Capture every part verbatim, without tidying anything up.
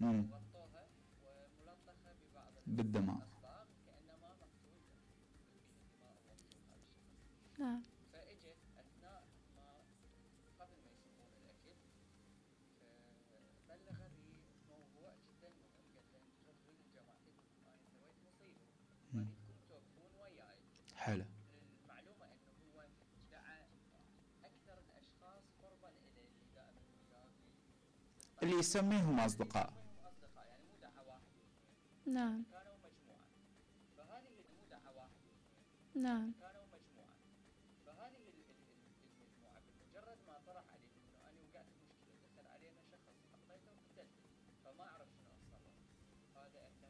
وغطوها وملطخة ببعض بالدماء الأصباغ كأنما مقتول بالدماء ومقتول هذا الشخص. نعم. فإجت أثناء ما قبل ما يسمون الأكل فبلغ بموضوع جدا مهم، قال له انتم تروحون لجماعتكم أنا سويت مصيبة أريدكم توقفون وياي. حلو. المعلومة أنه هو دعا أكثر الأشخاص قربا إليه اللي دائما وياه اللي يسميهم أصدقاء. أصدقاء يعني مو دعا واحد واثنين. نعم. كانوا مجموعة. فهذه مو دعا واحد واثنين. نعم. كانوا مجموعة. فهذه المجموعة بمجرد ما طرح عليه إنه أنا وقعت في مشكلة دخل علينا شخص حطيته وقتلته فما أعرف شنو أتصرف. هذا إحنا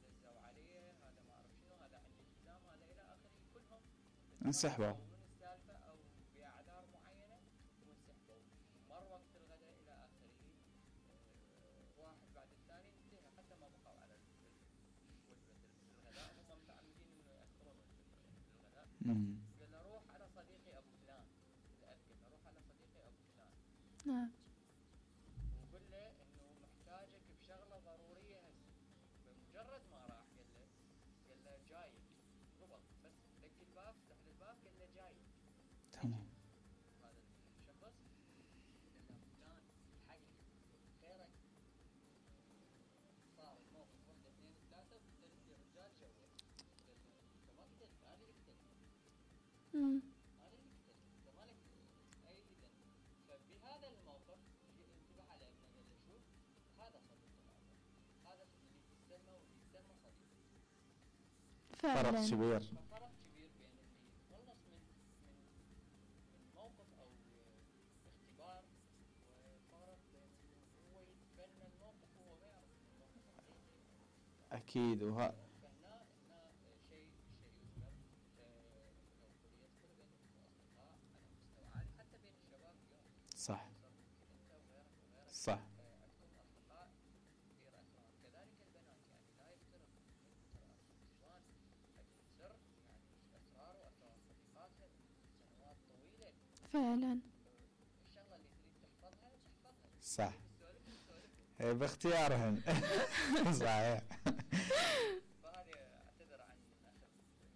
يدزوا عليه، هذا ما أعرف شنو، هذا عندي التزام، هذا إلى آخره، كلهم انسحبوا من السالفة أو بأعذار معينة وانسحبوا. مر وقت الغداء إلى آخره، واحد بعد الثاني انتهى حتى ما بقوا على وجبة الغداء، هم متعمدين إنه يأخرون وجبة الغداء. قال له روح على صديقي أبو فلان، الأب قال له روح على صديقي أبو فلان. نعم. وقل له إنه محتاجك بشغلة ضرورية هسه. بمجرد ما راح قال له قال له جاي ربط بس دق الباب، فتح الباب قال له جاي. تمام. هذا الشخص قال له فلان الحقني خيرك. صار الموقف واحدة اثنين ثلاثة قلت الرجال جوه. قال له انت ما قتلت، انا اللي قتلت. امم انا اللي قتلت، انت مالك اي اذن. فبهذا الموقف انتبه على ابنه قال له شوف هذا صديق العمر، هذا اللي يتسمى واللي يسمى صديق. فرق كبير. ففرق كبير بين اللي يتخلص من من من موقف او اختبار، وفرق بين هو يتبنى الموقف وهو ما يعرف الموقف حقيقي. اكيد. وها فهنا هنا شيء شيء يذكر لو يدخل بين الاصدقاء على مستوى عالي حتى بين الشباب اليوم. صح. انت وغيرك وغيرك صح. عندكم اصدقاء كثير اسرار، كذلك البنات يعني لا يفترق النسوان حديث سر يعني اسرار واسرار صديقاتها سنوات طويله. فعلا. الشغله اللي تريد تحفظها تحفظها. صح. باختيارهم. صحيح. فهذه اعتذر عن اخذ.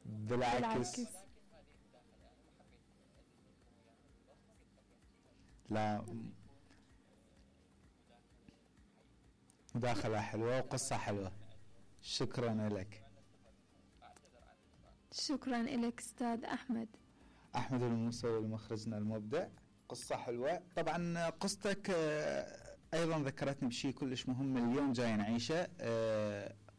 بالعكس. بالعكس. ولكن هذه مداخله يعني ما حبيت ادز لكم وياها بالبصمه، قلت لكم لا مداخلة حلوة وقصة حلوة. شكرا لك. شكرا لك أستاذ أحمد. أحمد الموسوي مخرجنا المبدع. قصة حلوة. طبعا قصتك أيضا ذكرتني بشيء كلش مهم اليوم جاي نعيشه.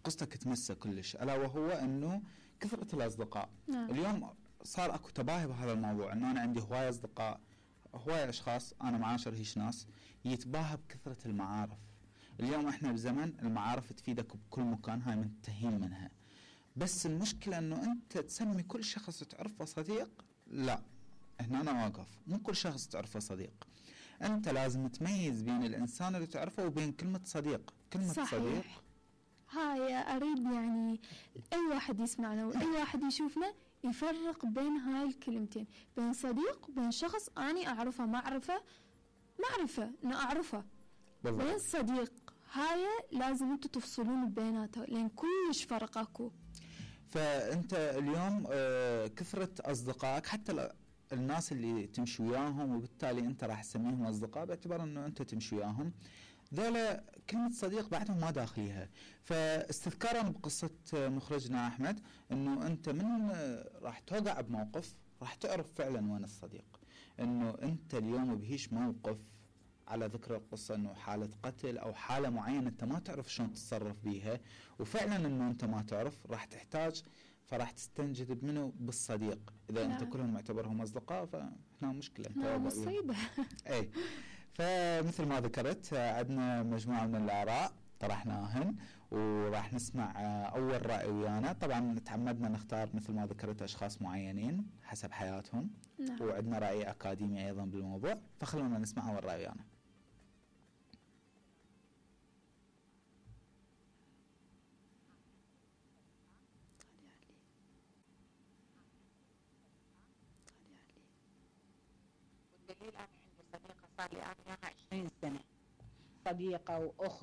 قصتك تمسه كلش، ألا وهو أنه كثرة الأصدقاء. نعم. اليوم صار أكو تباهي بهذا الموضوع، أنه أنا عندي هواية أصدقاء، هواية أشخاص أنا معاشر هيش ناس يتباهى بكثرة المعارف. اليوم احنا بزمن المعارف تفيدك بكل مكان، هاي منتهين منها. بس المشكلة انه انت تسمي كل شخص تعرفه صديق. لا، هنا انا واقف. مو كل شخص تعرفه صديق. انت لازم تميز بين الانسان اللي تعرفه وبين كلمة صديق. كلمة صحيح. صديق هاي اريد يعني اي واحد يسمعنا واي واحد يشوفنا يفرق بين هاي الكلمتين، بين صديق وبين شخص اني اعرفه معرفة معرفة انه اعرفه، بين صديق هاي لازم انتوا تفصلون بيناتها لان كلش فرق اكو. فانت اليوم آه كثرة اصدقائك حتى الناس اللي تمشي وياهم، وبالتالي انت راح تسميهم اصدقاء باعتبار انه انت تمشي وياهم، ذولا كلمة صديق بعدهم ما داخليها. فاستذكارا بقصة مخرجنا احمد انه انت من راح توقع بموقف راح تعرف فعلا وين الصديق. انه انت اليوم بهيش موقف على ذكر القصة انه حالة قتل او حالة معينة انت ما تعرف شلون تتصرف بيها، وفعلا انه انت ما تعرف راح تحتاج، فراح تستنجد منه بالصديق. اذا لا. انت كلهم معتبرهم اصدقاء فهنا مشكلة. لا مصيبة. اي فمثل ما ذكرت عندنا مجموعة من الاراء طرحناهن وراح نسمع اول رأي ويانا. طبعا تعمدنا نختار مثل ما ذكرت اشخاص معينين حسب حياتهم. نعم. وعندنا رأي اكاديمي ايضا بالموضوع، فخلونا نسمع اول رأي ويانا. والدليل أنا عندي صديقة صار لي أنا عشرين سنة، صديقة وأخت